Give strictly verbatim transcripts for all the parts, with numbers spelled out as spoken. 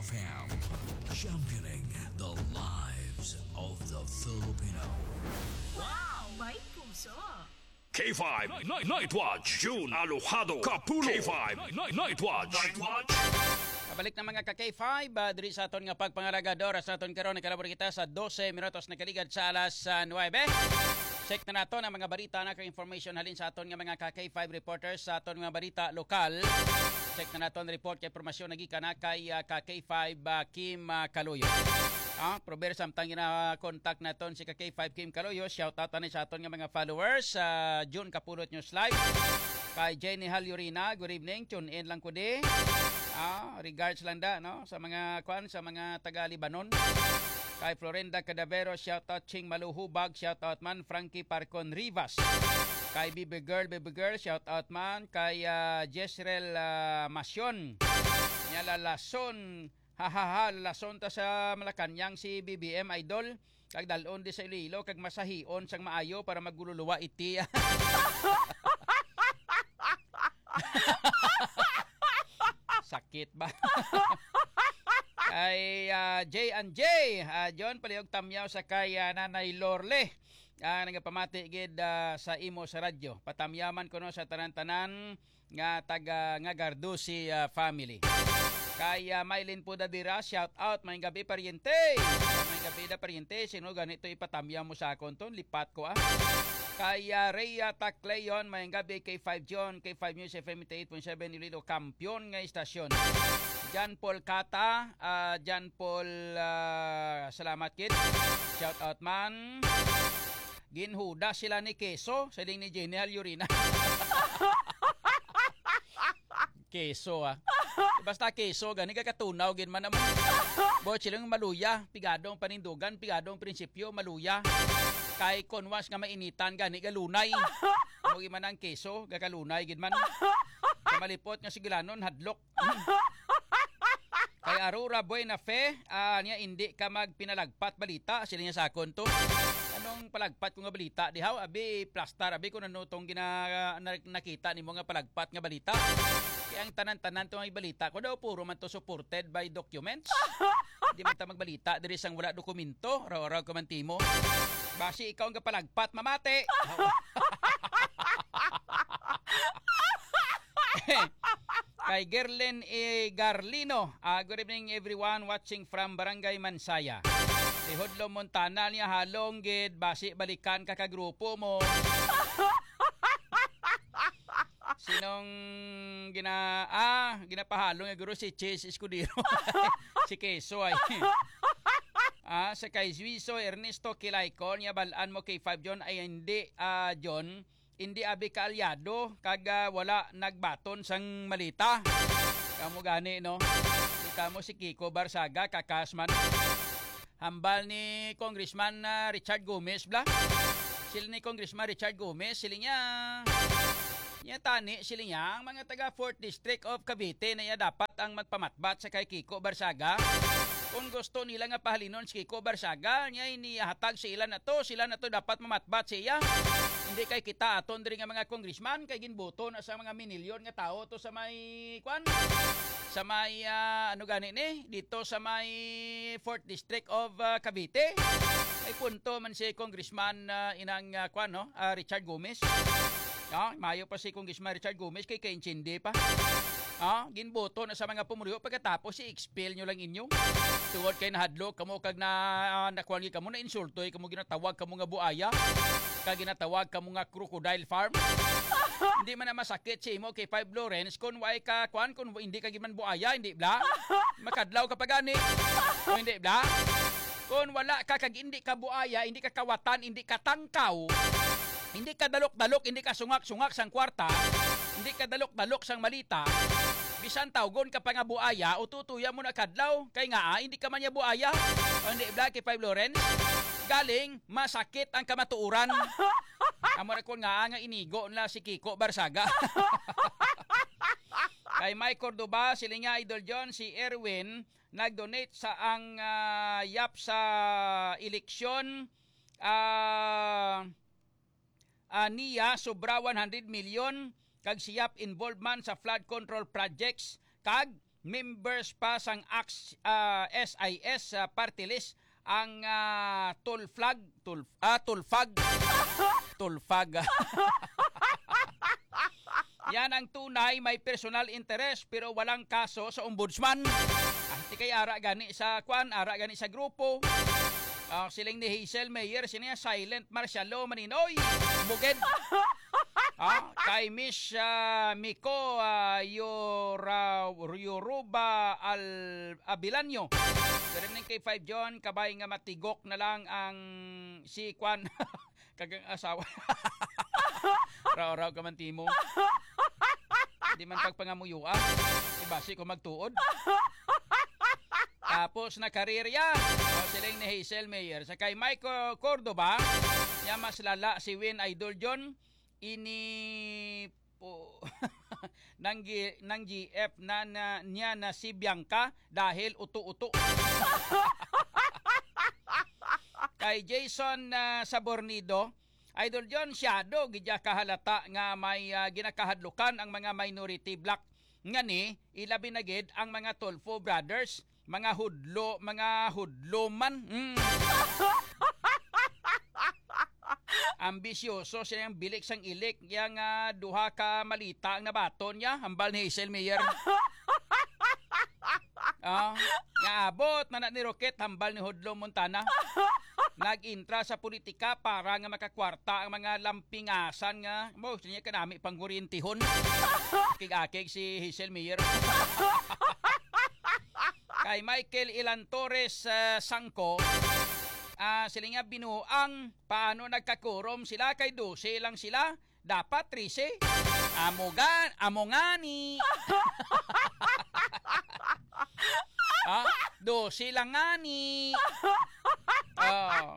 F M, championing the lives of the Filipino. Wow! May puso! K five Night, Night Watch, June Alojado Kapulo. K five Night, Night Watch. Night Watch. Pabalik na, mga ka K five, ah, diri sa aton nga pagpangalaga. Oras naton karon, nakalabor kita sa dose minutos, nakaligad sa alas, ah, nuebe. Check na naton ang mga balita, na kay information halin sa aton nga mga ka K five reporters sa aton nga balita lokal. Check na naton report kay impormasyon nagikan na kay, ah, ka K five, ah, Kim, ah, Kaloyo. Ah, prober samtang gina-contact naton si ka K five Kim Kaloyo, shout out ani sa aton nga mga followers sa June Kapulot News Live. Kay Jenny Halyurina, good evening, tune in lang ko di. Ah, regards lang da, no, sa mga kwan, sa mga taga Lebanon. Kay Florinda Cadavero, shout out. Ching Maluhubag, shout out man. Frankie Parcon Rivas. Kay Baby Girl, Baby Girl, shout out man. Kay, ah, Jezreel, ah, Masyon. Nya lalason, ha, ha, ha, lalason ta sa Malacañang si B B M Idol. Kag dalon di sa Iloilo, kag masahion sang maayo para magululuwa iti. Sakit ba? Kay, ah, J and J, ah, John, palihog tamyaw sa kay, ah, Nanay Lorle. Ah, nagapamati gid, ah, sa imo sa radyo. Patamyaman kuno sa tanan-tanan nga taga, nga Gardusi, ah, family. Kay, ah, Mylene Pudadira, shout out, maayong gabi, paryente. Maayong gabi da, paryente. Sino gani to ipatamyaw mo sa akon ton? Lipat ko, ah. Kay, ah, Rhea Tacleon, maayong gabi, K five John, K five News F M eighty-eight point seven Iloilo, kampiyon nga istasyon. John Paul Cata, ah, John Paul, ah, salamat kid. Shout out man. Ginhuda sila ni Keso, siling ni Jenny Halyurina. Keso, ah. Basta keso, gani gakatunaw gid man naman. Bo, siling maluya, pigadong panindugan, pigadong prinsipyo, maluya. Kay kon once nga mainitan, gani galunay. Mo gid man ang keso, gakalunay gid man. Sa malipot nga sigilanon, hadlok. Kay Aurora Buena Fe, ah, niya, "Hindi ka magpinalagpat balita," sila niya sa akon to. Anong palagpat ko nga balita? Dihaw, abi, plastar, abi, kung ano tong gina-, na-, nakita nimo nga palagpat nga balita. Kaya ang tanan-tanan to nga balita ko daw, puro man to supported by documents. Di man ta magbalita diri sang wala dokumento, raw-raw ka man timo. Basi ikaw ang kapalagpat, mamati. Kay Gerlin E. Garlino, ah, "Good evening, everyone watching from Barangay Mansaya." Ihudlo Montana niya, halong gid, basi balikan ka ka grupo mo. Sinong gina-, ah, ginapahalong nga guro si Chase Escudero. Si Keso ay. Ah, sa kay Juizo Ernesto Kilaykon, niya, "Balaan mo, K five John, ay hindi, ah, John, hindi abi kaalyado, kag, ah, wala nagbaton sang malita." Kamo gani, no? Kita mo si Kiko Barsaga, kakas man. Hambal ni Congressman, ah, Richard Gomez, bla? Sila ni Congressman Richard Gomez, sila niya. Niya tani, sila niya, ang mga taga Fourth District of Cavite na iya dapat ang magpamatbat sa kay Kiko Barsaga. Kung gusto nila nga pahalinon si Kiko Barsaga, niya inihatag sa ila na to, sila na to dapat mamatbat sa iya. Hindi kay kita aton diri nga mga congressman, kay ginboto na sa mga minilyon nga tawo to sa may, kwan? Sa may, ah, ano gani ni? Dito sa may Fourth District of, ah, Cavite. May punto man si Congressman, ah, inang, ah, kwan, no? Ah, Richard Gomez. No? Mayo pa si Congressman Richard Gomez kay kaintindi pa. Ah, ginboto na sa mga pumuluyo pagkatapos si expel nyo lang inyo. Tungod kay nahadlok kamo kag na, ah, nakuan gid kamo, nainsultoy kamo, ginatawag kamo nga buaya, kag ginatawag kamo nga crocodile farm. Hindi man na masakit sa imo kay Five Lawrence kung way ka, kwan, kung hindi ka gid man buaya, hindi bla? Makadlaw ka pa gani. O hindi bla? Kung wala ka kag hindi ka buaya, hindi ka kawatan, hindi ka tangkaw, hindi ka dalok-dalok, hindi ka sungak-sungak sang kwarta, hindi ka dalok-dalok sang malita, bisan tawgon ka pa nga buaya, ututuya mo na kadlaw. Kay nga, ah, hindi ka man niya buaya. O hindi bla, kay Five Lawrence? Galing, masakit ang kamatuoran. Amo ra kon nga, ah, nga inigo na si Kiko Barsaga. Kay Mike Cordoba, siling niya, Idol John, si Erwin, nag-donate sa ang, ah, yap sa eleksyon, ah, ah, niya sobra one hundred million, kag si yap involved man sa flood control projects, kag members pa sang Ax-, ah, S I S, ah, party list ang, ah, Tulflag, Tulf-, ah, Tulfag. Tulfag. Yan ang tunay may personal interest pero walang kaso sa ombudsman. Ay, ti kay ara gani sa kwan, ara gani sa grupo. Ah, siling ni Hazel Mayer, sini nga silent martial law, maninoy. Bugid. Ah, kay Miss, ah, Miko, ah, Yora-, Yoruba Al-, Abilanyo. Good evening, K five John. Kabay nga matigok na lang ang si kwan, kagang asawa. Raw-raw ka man, Timo. Di man pagpangamuyuan. Ibasi ko magtuod. Tapos na karirya. O, siling ni Hazel Mayer. Sa kay Michael Cordova, niya mas lala si Win Idol John. Ini po nang G-, nang G F na, na niya na si Bianca dahil uto-uto. Kay Jason, ah, Sabornido, Idol John, siyado gid ya kahalata nga may, ah, ginakahadlukan ang mga minority bloc. Ngani, ilabi na gid ang mga Tulfo brothers, mga hudlo, mga hudlo man. Mm. Ambisyoso siya yang bilik sang ilik, yang, ah, duha ka malita ang nabaton niya, hambal ni Hazel Mayer. Ah, nga abot man na ni Roquette, hambal ni Hudlo Montana. Nag-intra sa politika para nga makakwarta ang mga lampingasan nga mo niya kanami pangkuryentihon. Akig-akig si Hazel Mayer. Kay Michael Ilan Torres, ah, Sangko, ah, sila nga binuang paano nagkakurom sila kay dose lang sila. Dapat trese. Amo ga-, amo ngani. Ah, dose lang ngani. Oh.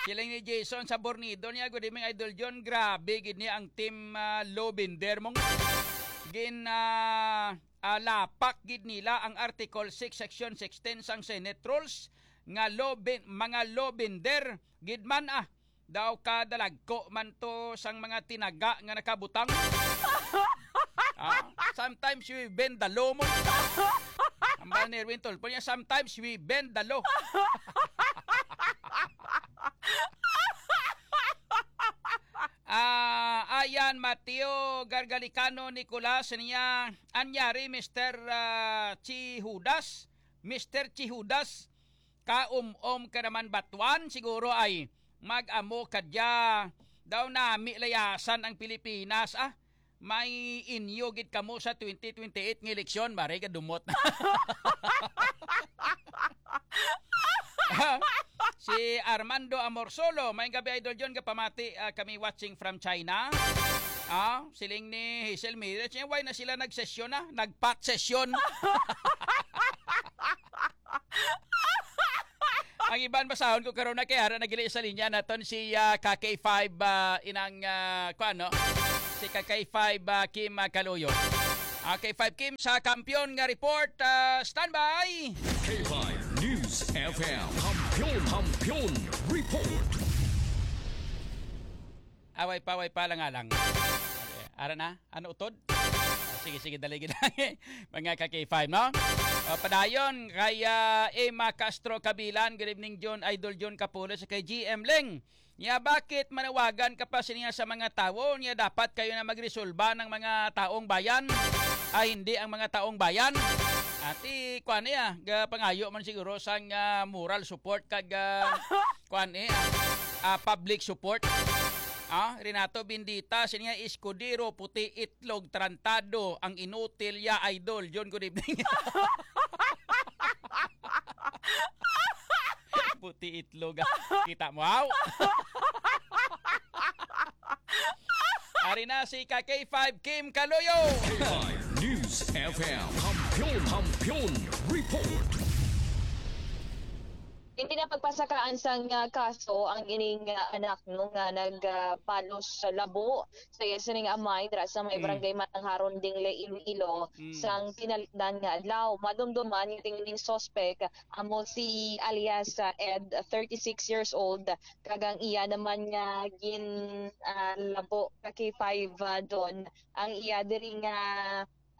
Siling ni Jason Sabornido niya, "Good evening, Idol John. Grabe gid ni ang team, ah, Lobender mong gin, ah, ah, lapak gid nila ang Article six, Section sixteen sang Senate Rules nga loben-, mga Lobender gid man, ah." Daw kadalagko man to sang mga tinaga nga nakabutang. Ah, sometimes we bend the law mo. Hambal ni Erwin Tulfo niya, "Sometimes we bend the law." Ah, ayan, Mateo Gargalicano Nicolas niya, anyari, Mister, ah, Chihudas, Mister Chihudas, kaum-om ka naman, Batuan, siguro ay mag-amo ka dya. Daw nami layasan ang Pilipinas, ah. May inyo gid kamo sa twenty twenty-eight nga eleksyon, maray ka dumot. Si Armando Amorsolo, may gabi, Idol John, kapamati, ah, kami watching from China. Ah, siling ni Hazel Mires, "Eh, why na sila nagsesyon na? Nagpat sesyon." Ang iban basahon ko karon na kay ara nagili sa linya naton si, ah, ka K five, ah, inang, ah, kuan, no? Si ka K five, ah, Kim, ah, Kaluyo. Ah, K five Kim sa Kampiyon nga report, ah, standby. K five News F M. Kampiyon, Kampiyon Report. Away pa, away pa lang nga lang. Ara na, ano utod? Ah, sige, sige, dali gid lang. Mga ka K five, no? O, padayon kay, ah, Emma Castro Kabilan, "Good evening, John, Idol John Kapulo, sa kay G M Ling. Nya, bakit manawagan ka pa siniya sa mga tawo? Nya, dapat kayo na magresolba ng mga taong bayan, ay hindi ang mga taong bayan." Ati, kuan niya, ga-, pangayo man siguro sang, ah, moral support kag, ah, kuan eh, ah, ah, public support. Ah, Renato Bendita, siniya, "Escudero, puti itlog, tarantado, ang inutil ya, Idol." John, good evening. Puti itlog, ah. Kita mo, aw? Ari na si ka K five Kim Kaloyo. K five News F M. Kampiyon, Kampiyon Report. Hindi na pagpasakaan sang, ah, kaso ang ining, ah, anak, no, nga nag, ah, balos sa labo sa iya sining amay dira sa may Mm. barangay Matangharon, Dingle, Iloilo, Mm. sang tinalikdan nga adlaw. Madumduman nga ining suspek amo si alias, ah, Ed, thirty-six years old, kag ang iya naman nga gin, ah, labo ka K five, ah, Don, ang iya diri nga,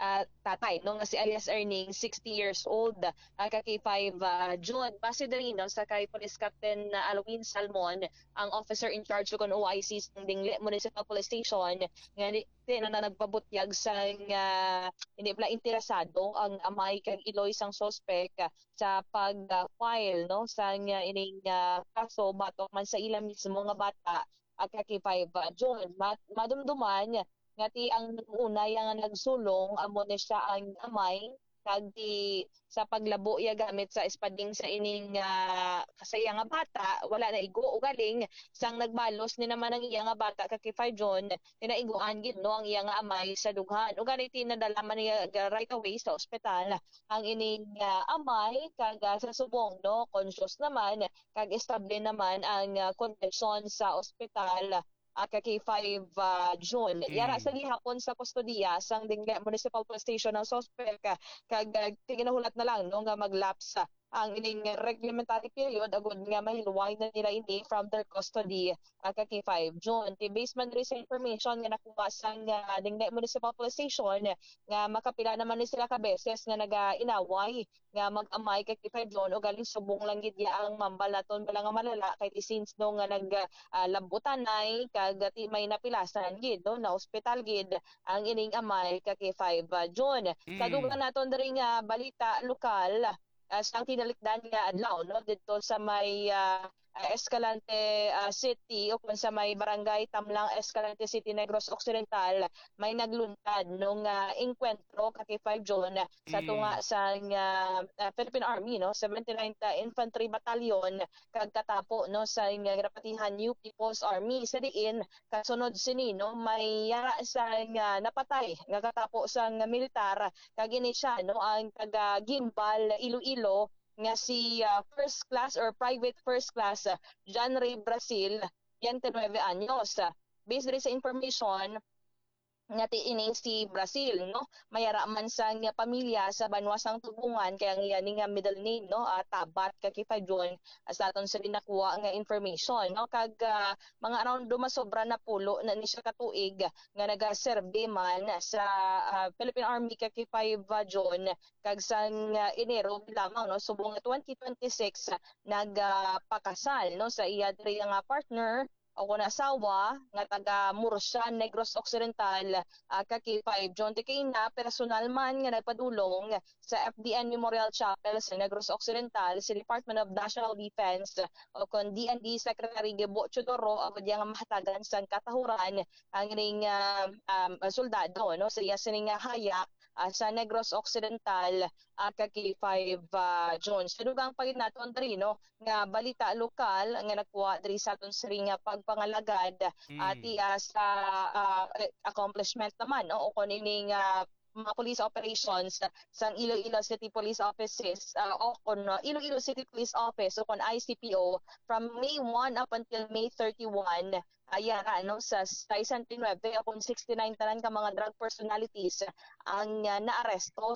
ah, tatay, no, nga si alias Erning, sixty years old, ah, ka K five, ah, June. Base diri, no, sa kay Police Captain, ah, Alwin Salmon, ang officer in charge kon O I C sa Dingle Municipal Police Station, nga ni, di na, na nagpabutyag sang, ah, hindi pala interesado ang amay kag iloy sang suspek, ah, sa pag-file, no, sang, ah, ining, ah, kaso batok man sa ila mismo nga bata, ah, ka K five, ah, June. Ma-, madumduman nga ti ang una yang nagsulong, amo ni siya ang amay, kag ti sa paglabo iya gamit sa espading sa ining, ah, sa iya nga bata, wala na igo. Ugaling sang nagbalos ni naman ang iya nga bata ka K five June, tinaiguan gid, no, ang iya nga amay sa dughan. Ugaling ti nadala man niya ga-, right away sa ospital ang ining, ah, amay, kag, ah, sa subong, no, conscious naman kag estable naman ang, ah, kondisyon sa ospital, ah, ka K five, ah, June. Yara sa gihapon sa kustodiya sang Dingle Municipal Police Station ang suspek, ah, kag, ah, ginahulat na lang, no, nga mag-lapse, ah, ang ining reglementary period agud nga mahilway na nila ini from their custody, ah, ka K five June. Ti based man diri sa information nga nakuha sang, ah, Dingle Municipal Police Station, nga makapila naman ni sila ka beses nga naga-inaway nga mag-amay kay K five June, ugaling subong lang gid ya ang mambal naton bala nga malala kay ti since no nga nag, ah, labutanay kag ti may napilasan gid, no, na ospital gid ang ining amay ka K five, ah, June. Sa Mm. dugang naton diri nga balita lokal, ah, sang tinalikdan nga adlaw, no, didto sa may, ah, ah, Escalante, ah, City o kung sa may barangay Tamlang, Escalante City, Negros Occidental, may nagluntad nung, ah, engkwentro ka K five June sa Mm. tunga sang, ah, ah, Philippine Army, no, seventy-ninth Infantry Battalion, kag katapo, no, sa nga ginapatihan New People's Army. Sa diin, kasunod sini, no, may yara sa nga napatay nga katapo sang militar, kag ini siya, no, ang taga Guimbal, Iloilo, nga si, ah, first class or private first class, ah, John Ray Brazil, twenty-nine anyos. Based diri sa information, nga ti ini si Brazil, no? May ara man sang pamilya sa banwa sang Tugbongan, kay ang iya ni nga middle name, no, ah, Tabat, ka K five June, ah, sa aton sa ginakuha nga information, no? Kag, ah, mga around dumasobra na pulo na ni siya ka tuig nga nagaserbi man sa, ah, Philippine Army ka K five June, kag sang, ah, Enero lamang, no, subong nga twenty twenty-six, ah, nagpakasal, no, sa iya diri nga partner o kon asawa nga taga Murcia, Negros Occidental, ah, ka K five June. Ti kay ina, personal man nga nagpadulong sa F D N Memorial Chapel sa Negros Occidental si Department of National Defense o kon D N D Secretary Gibo Teodoro, agud iya nga mahatagan sang katahuran ang ning, ah, um, soldado, no, sa iya sini nga haya, ah, sa Negros Occidental, ah, ka K five, ah, June. Sa dugang pa gid naton diri, no, nga balita lokal nga nakuha diri sa aton sini nga pagpangalagad, ah, Mm. ti, ah, sa, ah, accomplishment naman, no, o kon ini nga mga police operations sang Iloilo City Police Offices, ah, o kon, ah, Iloilo City Police Office o kon I C P O from May one up until May thirty-one, ah, yara, no, sa sesenta y nuebe o kon sixty-nine tanan ka mga drug personalities ang, ah, naaresto